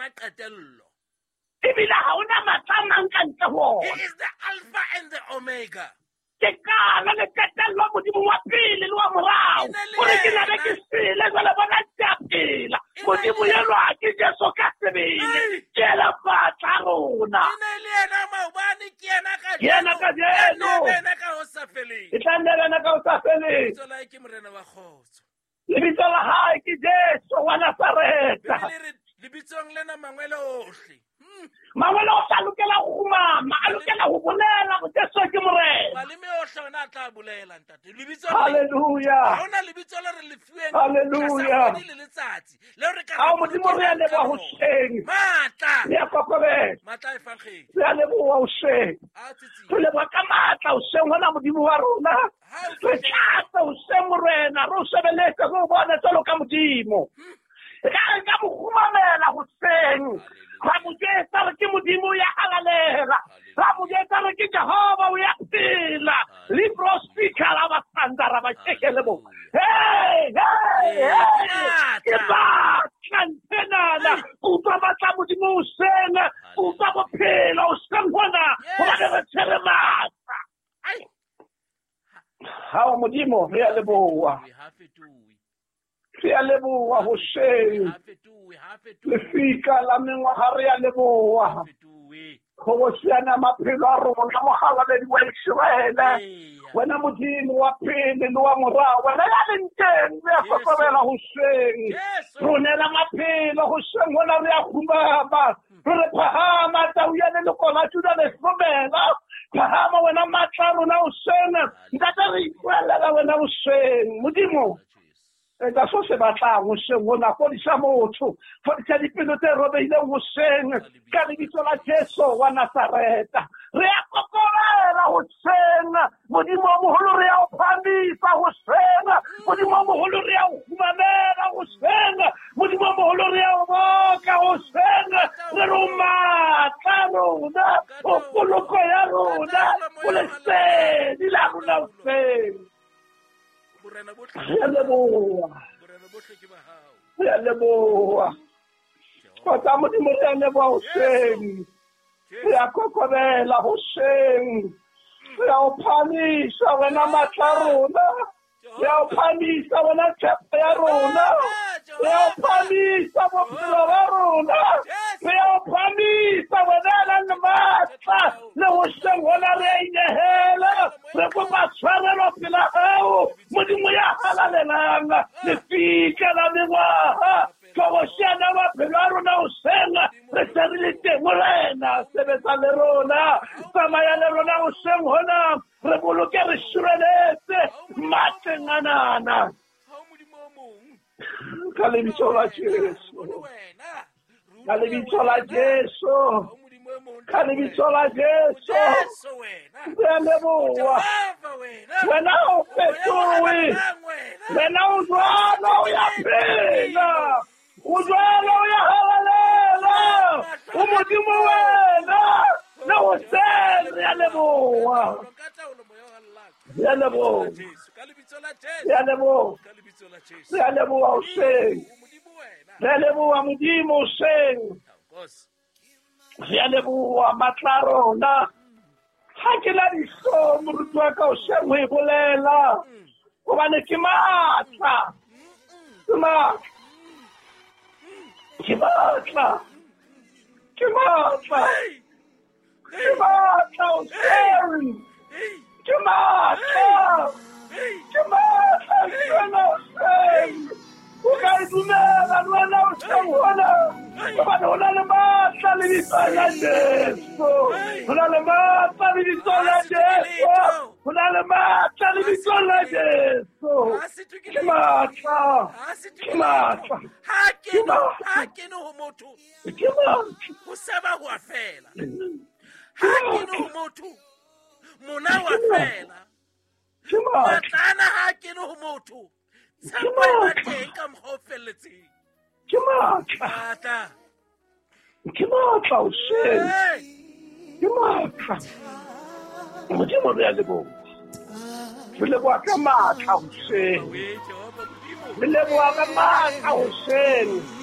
yena qetello. Ebile ha hona matla a mang ka ntle ho He ona. is the Alpha and the Omega. Ke qala le qetello, Modimo wa pele le wa morao. E ne le Hore ke nabe yena. ke sele jwale, bona ke a phela. E ne Modimo le yena. enwa ke Jesu ka sebele. Ei. Ke yena matla a rona. E ne le yena maobane, ke yena Ke yena kajeno, kajeno. e nne yena ka ho sa feleng. E tla nne le yena ka ho sa feleng. Lebitso la hae ke Morena wa kgotso. Lebitso la hae ke Jesu wa Nazareta. Bibele e re lebitsong lena mangwele ohle. Mangwele o tla lokela ho kgumama, a lokela ho bolela hore Jesu ke Morena. Maleme ohle ona a tla bolela, ntate. Lebitsong le Halleluja. ha hona lebitso le re le fuweng Hallelujah. tlasa kgwedi le letsatsi leo re ka Ao Modimo, re a bolokelang ka leboha lona. hoseng. Matla. Re a kokobela. Matla a efankgedi. Re a leboha hoseng. A tsitsing. Re leboha ka matla hoseng hona, Modimo wa rona. Ha o Re tlatse hoseng, Morena, re o sebeletse, re o bone jwalo ka Modimo. Re ka re ka mo kgumamela hoseng. Ra mo jwetsa re ke Modimo ya halalela. Ra mo jwetsa re ke Jehova o ya phela. Libro speaker la ba sanda ra ba tshekele bo. Hey, hey, hey. Ke batla nthenana. Utlwa matla a Modimo hoseng. Utlwa bophelo hoseng hona. Hobane re tshwere matla. Ai. Hao Modimo, re a leboha. Ha fetohe. Re a leboha hoseng. Ha fetohe, ha fetohe. Lefika la mengwaga, re a leboha. Fetohe. Kgobosiana maphelo a rona, mogalaledi wa Iseraele. Eya. Wena Modimo wa pele le wa morao, wena ya leng teng, re a Jesu. kokobela hoseng. Jesu. Ronela maphelo hoseng hona, re a kgumama, re re phahama, tau ya leloko la Juda le hlomela. Phahama wena matla a rona hoseng. Ntate, re ipuelela wena hoseng, Modimo. Jesu. Etsa so se batlang hoseng hona, fodisa motho, fodisa dipelo tse robehileng hoseng ka lebitso la Jesu wa Nazareta. Re a kokobela hoseng, Modimo o moholo, re a o phamisa hoseng, Modimo o moholo, re a o kgumamela hoseng, Modimo o moholo, re a o boka hoseng. Re re o matla a rona, o poloko ya rona, o lesedi la rona hoseng. Borena bohle. Re a leboha. Borena bohle ke ba hao. Re a leboha. Kgotsa Modimo, re a leboha hoseng. Re a kokobela hoseng. Re a o phamisa wena matla a rona. Re a o phamisa wena tshepo ya rona. Re a o phamisa bophelo ba rona. Re a o phamisa wena ya nang le matla. Le hoseng hona re a inehela. Re kopa tshwarelo pela hao, Modimo ya halalelang, lefika la mengwaha. Tlhobosiana maphelo a rona hoseng, re se re le teng, Morena. Sebetsa le rona, tsamaya le rona hoseng hona, re boloke, re sireletse matleng anana. Ha o Modimo o mong. Ka lebitso la Jesu. Re bone wena. Re Ka utlwe lebitso la wena. Jesu. Ha o Modimo e mong. Ka lebitso la Jesu. Jesu wena. Re a leboha. Jehova wena. Wena ha o Moya o fetohe. halalelang wena. Wena o jwalo, o ya phela. O jwalo, o ya halalela. O Modimo wena. Le hoseng re a leboha. Ka taolo moya o halalelang. Re a leboha. Jesu. Ka lebitso la Jesu. Re a leboha. Ka lebitso la Jesu. Re a leboha hoseng. O Modimo wena. Re a leboha Modimo hoseng. Nkosi. Re a leboha matla a rona. Ha ke la dihlong, moruti wa ka, hoseng ho e bolela. Hobane ke matla. Ke matla. Ke matla. Ke matla. Hey. Ke matla hoseng. Hey. Ke matla. Hey. Ke matla ke wena hoseng. O ka e dumela le wena hoseng hona. Hobane ho na le matla lebitsong la Jesu. Ho na le matla lebitsong la Jesu. Ho na le matla lebitsong la Jesu. Ha se Ke tokile. matla. Ha se Ke tokile. matla. Ha kene, ha kene ho motho. Ke matla. Ho seba ho a fela. Ha kene ho motho. Mona wa fela. Ke matla. Matla ana ha kene ho motho. Tshepo e ba teng ka mokgwa o felletseng. Ke matla. Matla. Ke matla hoseng. Hey. Ke matla. Modimo, re a leboha. Re leboha ka matla hoseng. We Jehova Modimo. Re leboha ka matla hoseng.